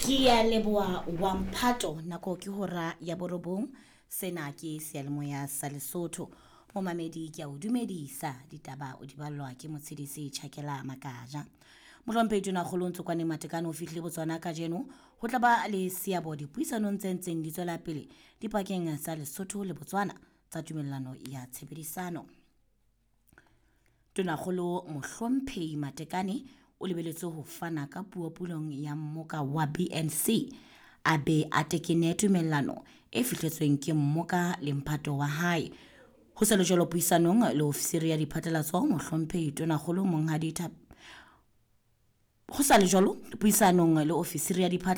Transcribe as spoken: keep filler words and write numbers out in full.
Ke a leboha wa mphato nako ke hora ya borobong. Sena ke seyalemoya sa Lesotho. Momamedi ke a o dumedisa ditaba o di ballwa ke Motshedisi Tjhakela Makaja. Mohlomphehi Tonakgolo Ntsokwane Matekane o fihlile Botswana kajeno ho tla ba le seabo dipuisanong tse ntseng di tswela pele dipakeng tsa Lesotho le Botswana tsa tumellano ya tshebedisano. Tonakgolo Mohlomphehi Matekane o lebeletswe ho fana ka puo pulong ya mmoka wa B N C a be a tekene tumellano e fihletsweng ke mmoka le mphato wa hae. Ho sa le jwalo puisanong le ofisiri ya diphatlalatso Mohlomphehi Tonakgolo Monghadi Thap ho sa le jwalo puisanong le ofisiri ya diphatlalatso.